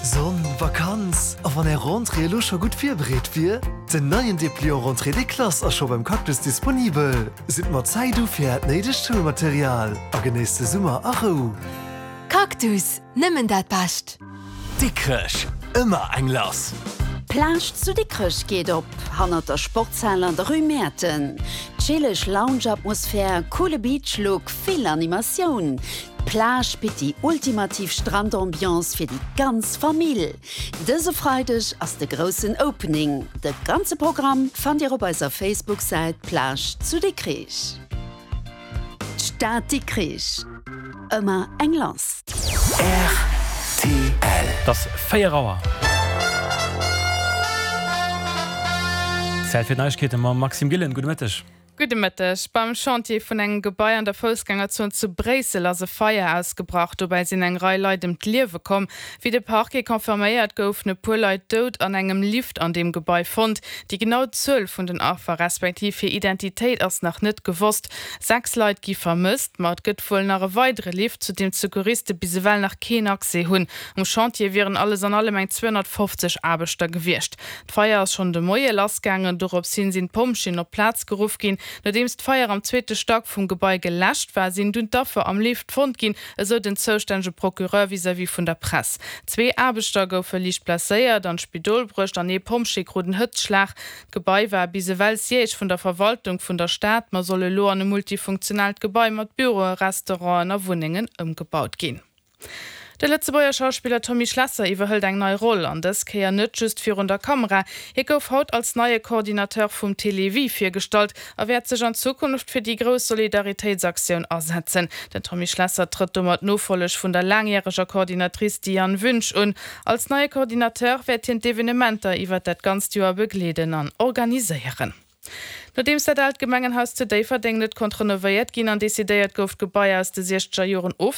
Sonn, Vakanz a wann är Rentrée elo scho gutt virbereet wier? Den neien Depliant Rentrée des Classes ass scho beim Cactus disponibel. Sidd mat Zäit u fir äert néidegt Schoulmaterial a genéisst de Summer a Rou. Cactus, nëmmen dat Bescht! Dikrech, ëmmer eng lass! D'Plage zu Dikrech geet op, hannert der Sportshal an der Rue Mäerten. Chilleg Lounge-Atmosphär, coole Beach-Look, vill Animatioun. D'Plage bitt déi ultimativ Strandambiance fir déi ganz Famill. Dëse Freideg ass de groussen Opening. De ganze Programm fannt Dir op eiser Facebook-Säit Plage zu Dikrich. D'Stad Dikrich, ëmmer eng lass. Rtl. Et ass 4 Auer. Zäit fir d'Neiegkeete mam Maxime Gillen. Gudde Mëtteg. Gudde Mëtteg. Beim Chantier vun engem Gebai an der Foussgängerzon zu Bréissel ass e Feier ausgebrach. Dobäi sinn eng Rei Leit ëm d'Liewe komm. Wéi de Parquet confirméiert, goufen e puer Leit dout an engem Lift an deem Gebai fonnt. Déi genau Zuel vun den Affer, respektiv hir Identitéit ass nach net gewosst. 6 Leit gi vermësst, ma et gëtt wuel nach e weidere Lift, zu deem d'Secouriste bis ewell nach keen Accès hunn. Um Chantier wieren alles an allem eng 250 Aarbechter gewiescht. D'Feier ass schonn de Moie lassgaangen. Dorops hin sinn d'Pompjeeën op d'Plaz geruff ginn. Nodeems d'Feier am zweete Stack vum Gebai geläscht war, sinn dunn d'Affer am Lift fonnt ginn, esou den zoustännege Procureur vis-à-vis vun der Press. Zwee Aarbechter goufe liicht blesséiert an d'Spidol bruecht an ee Pompjee krut en Hëtzschlag. D'Gebai war bis ewell Siège vun der Verwaltung vun der Stad, ma soll elo an e multifunktionaalt Gebai mat Büroen, Restauranten a Wunnengen ëmgebaut ginn. De Lëtzebuerger Schauspiller Tommy Schlesser iwwerhëlt eng nei Roll, an dës Kéier net just virun der Kamera. Hie gouf haut als neie Coordinateur vum Télévie virgestallt a wäert sech an Zukunft fir déi grouss Solidaritéitsaktioun asetzen. Den Tommy Schlesser trëtt domat d'Nofolleg vun der laangjäreger Coordinatrice Diane Wünsch un. Als neie Coordinateur wäert hien d'Evenementer iwwert dat ganzt Joer begleeden an organiséieren. Nodeems dat aalt Gemengenhaus zu Déifferdeng net konnt renovéiert ginn an decidéiert gouf, d'Gebai aus de siechzeger Joren ofzebauen.